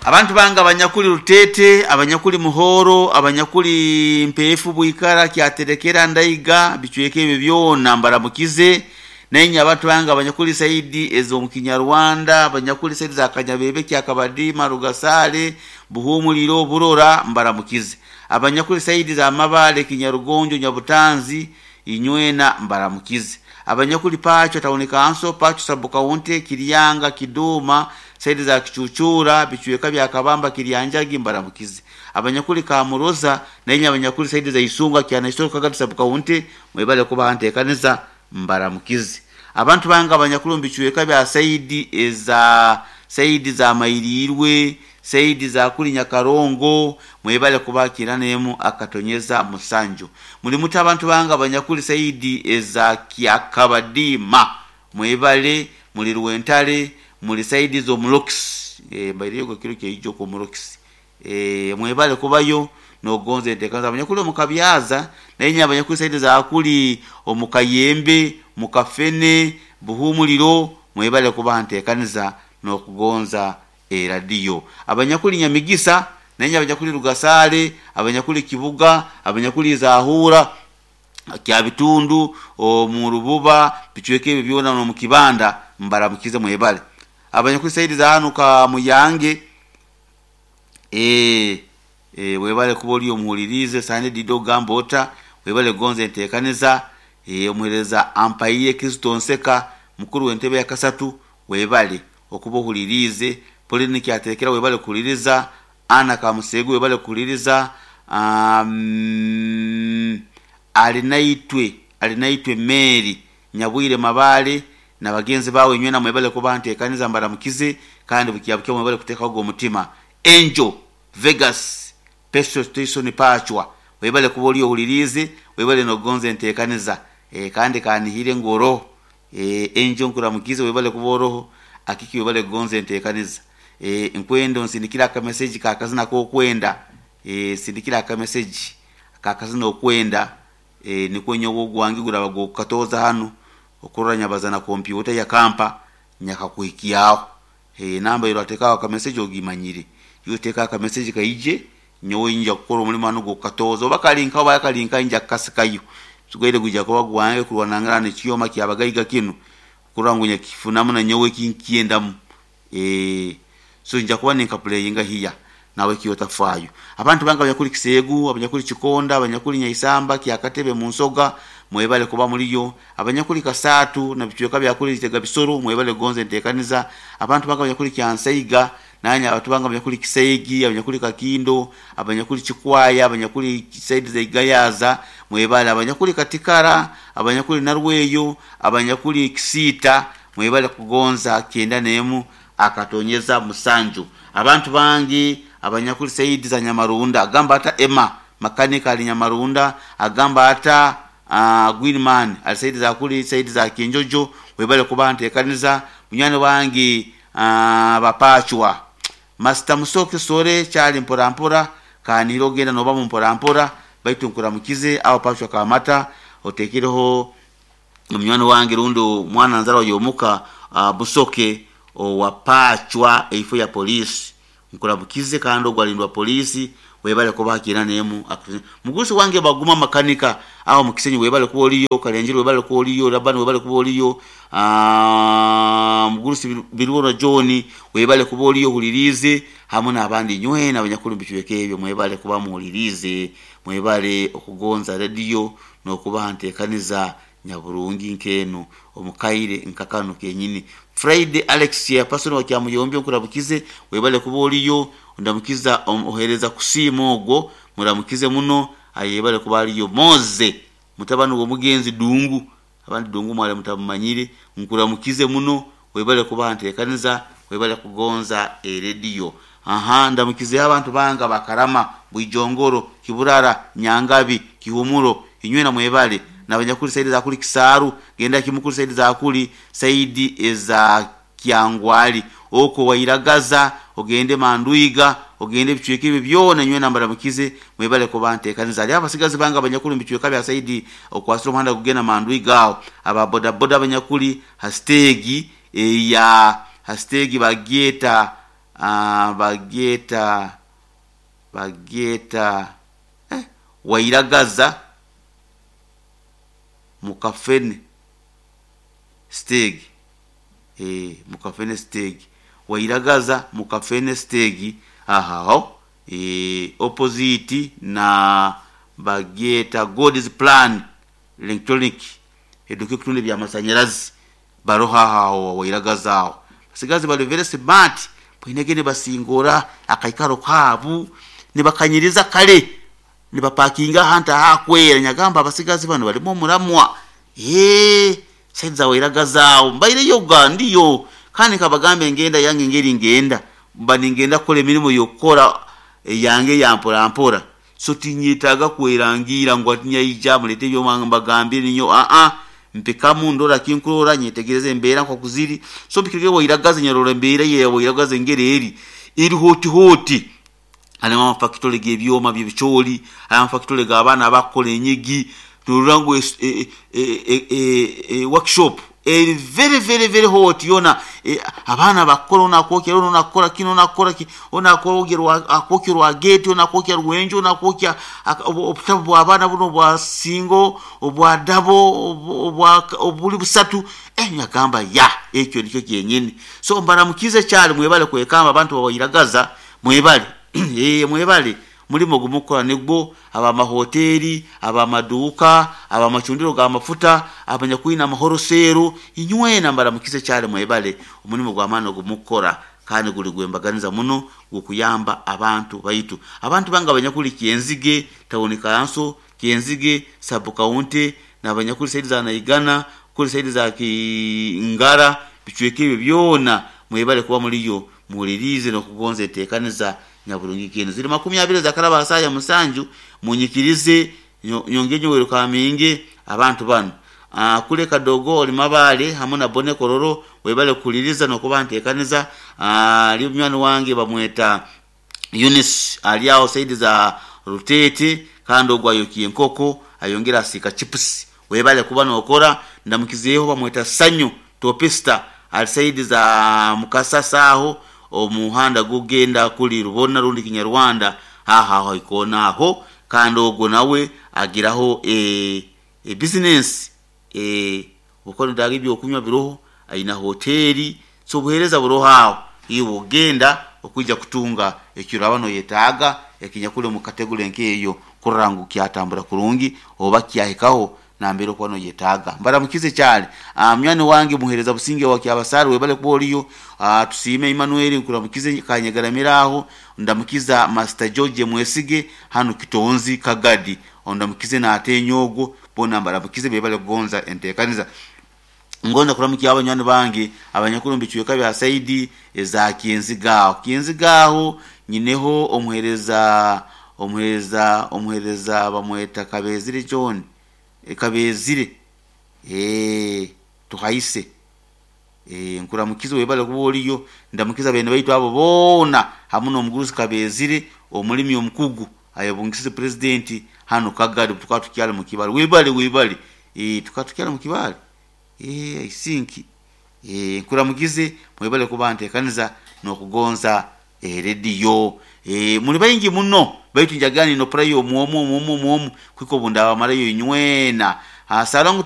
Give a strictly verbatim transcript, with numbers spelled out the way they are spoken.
Abantu bange abanyakuli Rutete, abanyakuli Muhoro, abanyakuli Mpeefu, Bwikara, Kyaterekera, Ndaiga, bicweka ebyo byona mbaramukize. Nainye abantu bange abanyakuli saidi ez'omu Kinyarwanda, abanyakuli saidi za Kanyabebe, Kyakabadima, Rugasale, Buhumuliro, Burora, mbaramukize. Abanyakuli saidi za Mabale, Kinyarugonjo, Nyabutanzi, inywena mbaramukize. Abanyakuli Pacho Town Council, Pacho Sub County, Kiryanga, Kiduma, saidi za Kichuchura, bicweka bya Kabamba, Kiryanjagi, mbaramukize. Abanyakuli Kamuroza, nainye abanyakuli saidi za Isunga, Kyanaisoro, Kagadi Sub County, mwebale kuba nteekaniza, mbaramukize. Abantu bange abanyakuli omu bicweka bya saidi eza saidi za Mairirwe, saidi za kuli Nyakarongo, mwebale kubakira nemu akatonyeza musanju. Muli muta abantu bange abanyakuli saidi eza Kyakabadima, mwebale muli Rwentale, muli saidi z'Omulokisi, e, mbairiyo kiro kyeijo ku Omulokisi, e, mwebale kubayo nogonze enteekaniza. Abanyakuli omu Kabyaza, nainye abanyakuli saidi za kuli omu Kayembe, mu Kafene, Buhumuliro, mwebale kuba nteekaniza n'okugonza eradiyo. Abanyakuli Nyamigisa, nainye abanyakuli Rugasale, abanyakuli Kibuga, abanyakuli Zahura, Kyabitundu, omu Rububa, bicweka ebyo byona n'omu Kibanda, mbaramukize mwebale. Abanyakuli saidi za hanu ka Muyange, eh, eh, webale kuba oli omuhulirize sande dido gamba ota, webale gonza enteekaniza, eh, omuhereza ampaire Kristo Nseka, mukuru w'entebe ya kasatu, webale okuba ohulirize. Pauline Kyaterekera webale kuhuliriza, Ana Kamusegu webale kuhuliriza, um, Alinaitwe, Alinaitwe Mary Nyabwire Mabale na bagenzi bawe inywena mwebale kuba nteekaniza, mbaramukize kandi bukyabukya mwebale kuteekaho omutima. Angel Vegas Petrol Station Pachwa, webale kuba oli ohulirize, webale nogonza enteekaniza, e, kandi kanihire ngu oroho, e, Angel nkuramukize webale kuba oroho, akiki webale kugonza enteekaniza. E, nkwenda onsindikira akameseji kakazina k'okwenda, e, sindikira akameseji kakazina okwenda, e, nikwo nyowe ogwange guraba gukatooza hanu okurora nyabaza na kompyuta ya kampa nyakakuhikyaho. E, namba irateekaho akameseji ogimanyire, yoteeka akameseji kaije nyowe nja kukora omulimo hanu gukatooza, oba kalinka oba kalinka nja kukasikayo tugaire guja kuba gwange kurwanangana n'ekyoma kyabagaiga kinu kurora ngu nyakifunamu na nyowe kinkyendamu. E, so nja kuba ninkapuleyinga hiya nawe kiyotafaayo. Abantu bange abanyakuli Kiseegu, abanyakuli Kikonda, abanyakuli Nyaisamba, Kyakatebe, Munsoga, mwebale kuba muliyo. Abanyakuli Kasatu na bicweka bya kuli Kitega Bisoro, mwebale gonza enteekaniza. Abantu bange abanyakuli Kyansaiga, nanya abantu bange abanyakuli Kiseigi, abanyakuli Kakindo, abanyakuli Kikwaya, abanyakuli Saidi za Igayaza, mwebale. Abanyakuli Katikara, abanyakuli Narweyo, abanyakuli Kisiita, mwebale kugonza kyenda nemu akatonyeza musanju. Abantu bange abanyakuli saidi za Nyamarunda, agamba ata Emma makanika ali Nyamarunda, agamba ata uh, Greenman ali saidi za kuli saidi za Kinjojo, webale kuba nteekaniza. Munywani wange uh, bapachwa Master Musoke sore kyali mpora mpora kaniro genda noba mu mpora mpora baitu nkuramukize aho pachwa kamata otekireho munywani wange rundo mwana nzara yomuka uh, Busoke owapachwa eifo ya polisi nkuramukize kandi ogwalindwa polisi webale kuba nemu. Mugusi wange baguma makanika aho mukisenyi webale kuba oliyo, Kalenjiro webale kuba oliyo, Labani webale kuba oliyo, ah, mugusi Birwono John webale kuba oliyo hulirize hamwe n'abandi nywena abanyakulu bicweka ebyo mwebale kuba muhulirize, mwebale okugonza radio n'okuba nteekaniza nyaburungi nkeno omukaire nkakano kenyini. Friday Alex ya pastor wa Kyamuyombyo nkurabukize webale kuba oliyo, ndamukiza ohereza kusiima ogwo muramukize muno ayebale kuba aliyo. Moze mutabani w'omugenzi Dungu, abandi Dungu mwale mutamumanyire, nkuramukize muno webale kuba nteekaniza, webale kugonza erediyo. Aha, ndamukize abantu banga bakarama Bwijongoro, Kiburara, Nyangabi, Kihumuro, inywena mwebale n'abanyakuli saidi za kuli Kisaaru, genda kimukuli saidi za kuli saidi eza Kyangwali, oko wairagaza ogende Manduiga, ogende bicweka ebyo byona nywena mbaramukize mwebale kuba nteekaniza. Ali abasigazi banga abanyakuli mu bicweka bya saidi okwasira omuhanda kugenda Manduiga aho aba bodaboda abanyakuli hastegi eya hastegi bagyeta uh, bagyeta bagyeta eh, Wairagaza Mukafene stage, eh, Mukafene stage, Wairagaza Mukafene stage ahaho, eh, opposite na bagyeta God's Plan Electronic, eduka ekutunda ebyamasanyarazi baroho aho Wairagaza. Aho basigazi bali very smart, bwinege nibasingora akaikaro kabu nibakanyiriza kale nibapakinga ahantu ahakwera. Nyagamba abasigazi bano balimu omuramwa. Ee, side za Wairagaza aho mbaireyo ga ndiyo, kandi nkabagamba engenda yange ngeri ngenda mba ningenda kukora emirimu yokukora yange ya mpora mpora, so tinyetaaga kwerangira ngu ati nyaija mulete ebyoma mbagambire ninyo. Aa, mpikamu ndora kinkurora, nyetegereza embeera nkoku ziri. So mpikirege Wairagaza, nyarora embeera ye Wairagaza engeri eri eri hoti hoti. Harimu amafakitore g'ebyoma by'ebicoori, harimu amafakitore g'abaana abakukora enyigi, norora ngu e, e, e, e, e, workshop eri very very very hot yona. E, abaana bakukora, ono akwokya, ono akukora kino, ono akukora ki, ono akwogya akwokya rwageti, ono akwokya rwenju, ono akwokya obutabu bw'abaana buno obwa singo, obwa dabo, obwa obuli busatu. Eh, nyagamba ya ekyo nikyo kyenyini. So mbaramukize kyali, mwebale kwekamba abantu bawairagaza, mwebale, eh, mwebale mulimo gumukora nigwo, abamahoteli, abamaduka, abamacundiro g'amafuta, abanyakwina amahoroseero, inywena mbaramukize kyali, mwebale omulimo gw'amaani ogumukora kandi guli gwembaganiza muno gukuyamba abantu baitu. Abantu bange abanyakuli Kyenzige town council, Kyenzige sub county, n'abanyakuli side za Naigana, kuli side za Kingara, bicweka ebyo byona mwebale kuba muliyo muwulirize n'okugonza enteekaniza nyaburungi kinu. Ziri makumi abiri zakaraba asaya musanju, munyikirize nyonge nyowero kaminge abantu bano. Uh, kule kadogo oli mabale hamwe na bone kororo, webale kuliriza nokuba nteekaniza. Uh, ali munywani wange bamweta Eunice ali aho saidi za Rutete, kandi ogwo ayokiye enkoko ayongera asiika chips, webale kuba nokora. Ndamukizeeho bamweta Sanyu Topista ali saidi za Mukasasa aho omuhanda gugenda kuli Rubona rundi Kinyarwanda haha aho ikona aho, kandi ogwo nawe agiraho e, e business e, bukono daga ebyokunywa biroho, aina hoteli, so obuheereza buroho aho iwe ogenda okwijja kutunga ekiraba noyetaaga ekinyakuli omu kategori nk'eyo kurora ngu kyatambura kurungi oba kyahikaho nambere okuba noyetaaga. Mbaramukize kyali munywani wange muhereza Businge wa Kyabasari, webale kuba oliyo. Tusiime Emmanuel nkuramukize kanyagaramira aho. Ndamukiza Master George Mwesige hano Kitonzi Kagadi, ondamukize natenyo ogwo bona mbaramukize, bebale kugonza enteekaniza. Ngonza kuramukia abanywani bange abanyakuru mu bicweka bya saidi eza Kyenzigaho. Kyenzigaho nyineho omuhereza omuhereza omuhereza bamweta Kabezire John, e, Kabezire eh tuhaise, eh, nkuramukize webale kuba oliyo. Ndamukiza bene baitu abo boona hamu n'omugurusi Kabezire omulimi omukugu ayabungisize president hano Kagadi, tukaba tukyali mu kibale. Webale webale, eh, tukaba tukyali mu kibale, eh, I think, eh, nkuramukize mwebale kuba nteekaniza n'okugonza erediyo. Eh, muli baingi muno baitu njagani nopurayo omwomu omwomu omwomu kwiko bundabamalayo inywena. Salongo.